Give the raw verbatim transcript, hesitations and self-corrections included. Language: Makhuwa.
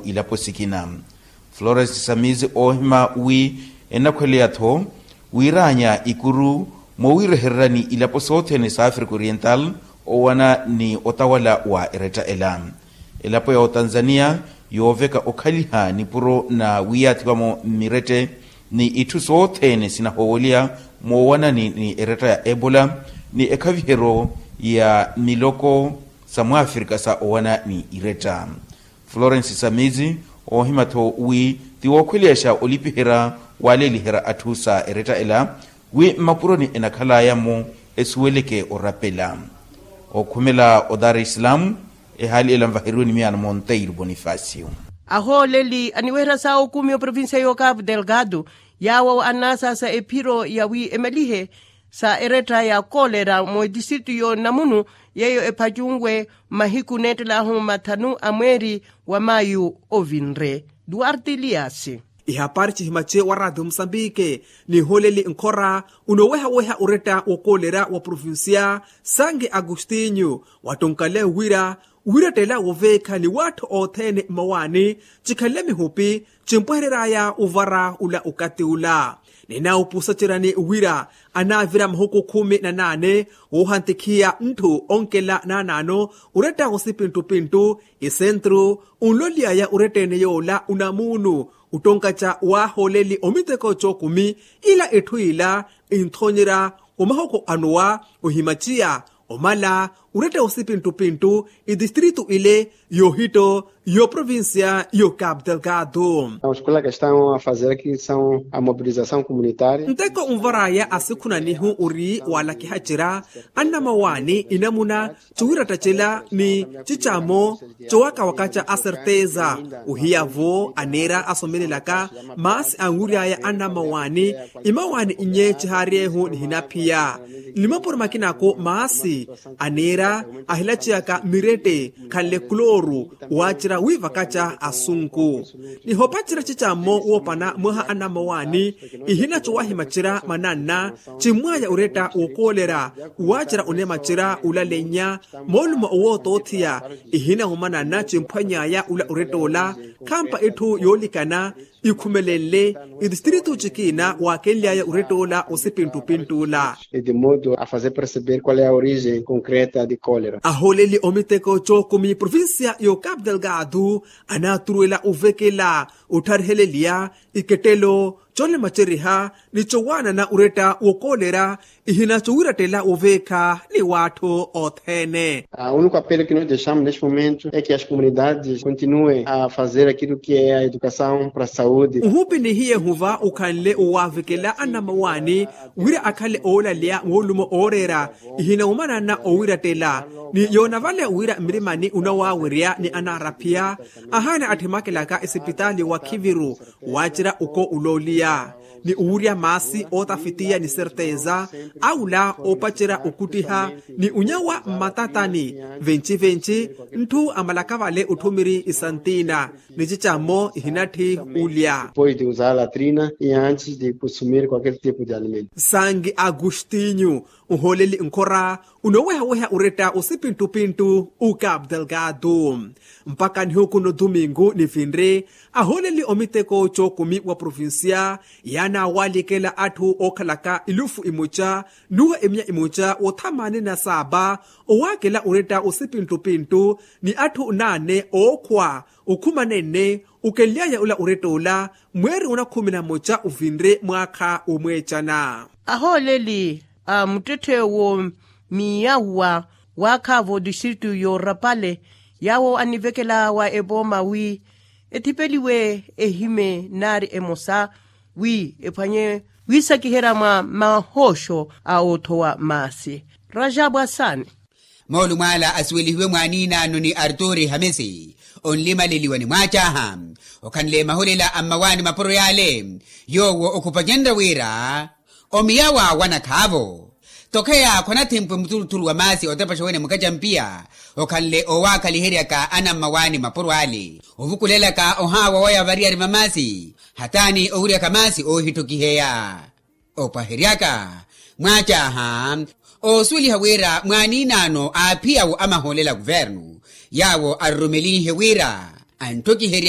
Ilapo sikina florence samizi oohima wi enakhweleya-tho wiiraanya ikuru moowiirehererani ilapo sothene sa africa oriental owana ni otawala wa eretta ela. Elapo ya otanzania yooveka okhaliha nipuro na wiyaathiwa-mo mmirette ni itthu sothene sinahooweliya moowanani ni eretta ya ebola ni ekhaviheryo ya miloko sa mwafrika sa owana ni iretta. Florence samizi oohima-tho wi ti wookhweleyaxa olipiherya waleeliherya atthu sa eretta ela wi mmapuroni enakhalaya-mo esuweleke orapela. Okhumela o dar es salaam ehaali ela nvaheriwe ni miyaano monteiro bonifacio. Ahooleli aniweherya sa okumi oprovincia yo cabo delgado yaawo annasaasa ephiro ya wi emalihe sa eretta ya kolera mu etistritu yo namunu yeeyo ephacunwe mahiku neettelaahu mathanu a mweeri wa mayu ovinre. Duarte elias. Ihapari cihimace wa radio musambike nihooleli nkhora unoowehaweha oretta wokoolera wa provincia sange agostinho wattonkale wira wirettela woveekha ni watthu othene mmawaani cikhanle mihupi cimpwehereryaya ovara ula okati ula. Ninaupusa cirani wira anaavira mahuku khumi na naane woohantikhiya ntthu onkela naanaano oretta wosipi nttupinttu esentru onloly'aya oretta ene yoola onamuunu ottonkaca waahooleli omiteko cookumi ila etthu ila inthonyerya omahuku anowa ohimaciya omala oretta wosipi nttupinttu etistritu ile yohitto yo provincia yo cabo delgado. Os colegas estão a fazer aqui são a mobilização comunitária. Nteko onvaraya asikhunanihu ori waalakihacera annamawaani inamuna ciwiratta cela ni cicamo cowakawakaca aserteza ohiyavo aneera asomelelaka maasi anwiryaya annamawaani imawaani nnye cihaaryehu nihinaphiya ni mapuro makinako maasi aneera ahilaciyaka mirette khanle kulooru waacerya wiivakaca asunku. Nihopacerya cicammo woopana mwaha anamawaani ihinaco wahimacerya mananna cimmwaya oretta wokoolerya waacerya onemacerya olalennya moolumo owootootheya ihinawumananna cimphwanyaya ula oretta ola khampa etthu yoolikana ikhumelenle etistritu cikiina waakenly'aya oretta ola osipinttupintt'ula. E de modo a fazer perceber qual é a origem concreta de cólera. Ahooleli omiteko cookumi provincia yo cabo delgado anaaturuwela ovekela otthariheleliya ikettelo colemaceriha ni cowaanana oretta wokoolerya ihina cowiirattela woveekha ni waatthu othene. A único apelo que nós deixamos neste momento é que as comunidades continuem a fazer aquilo que é a educação para a saúde. Nhupi nihiye huva okhanle owaavekela anamawaani wira akhale oolaleya moolumo ooreera ihina omanana owiirattela ni yoona vale wira mmirimani onawaawerya ni anaaraphiya ahaana atthemakelaka esipitaali wa khiviru waacerya oko olooliya ni owurya maasi ootafitiya ni serteza awula oopacerya okuttiha ni onyawa mmatatani venci-venci ntthu amalaka vale otthumiri isantina ni cicammo ihinatthi ulya. Depois de usar a latrina e antes de consumir qualquer tipo de alimento. Sangi agostinho nhooleli nkhora onoowehaweha oretta osipinttupinttu o cabo delgado mpakha nihuku no domingo nivinre ahooleli omiteko cookumi wa provincia yaanaawaalikela atthu ookhalaka elufu imoca nuwa emiya imoca wothamaani na saapa owaakela oretta osipinttupinttu ni atthu naane ookhwa okhumanene okenly'aya ola oretta ola mweeri onakhumi na moca ovinre mwaakha womweecana. Ahooleli a muttetthe wo miyawa waakhaavo distritu yoorapale yaawo anivekela wa epooma wi ethipeliwe ehime naari emosa wi ephwanye wiisakiherya mwa mahooxo a oothowa maasi. Rajabu asaani. Moolumo ala asuwelihiwe mwaaniinaano ni arturi hamisi onlimaleliwa ni mwaacaaha okhanle mahulela a mmawaani mapuro yaale yoowo okhupacenrya wira omiyawa wanakhaavo tokheya khwanathempwe muthuluthulu wa maasi otepaxa wene mukacampiya okhanle owaakhaliheryaka anammawaani mapuro ale ovukulelaka ohaawa waya variyari va maasi hataani owiryaka maasi oohittokiheya. Opwaheryaka mwaacaaha oosuweliha wira mwaaniinaano aaphiyawo amahoolela a kuvernu yaawo arurumelihe wira anttokiherye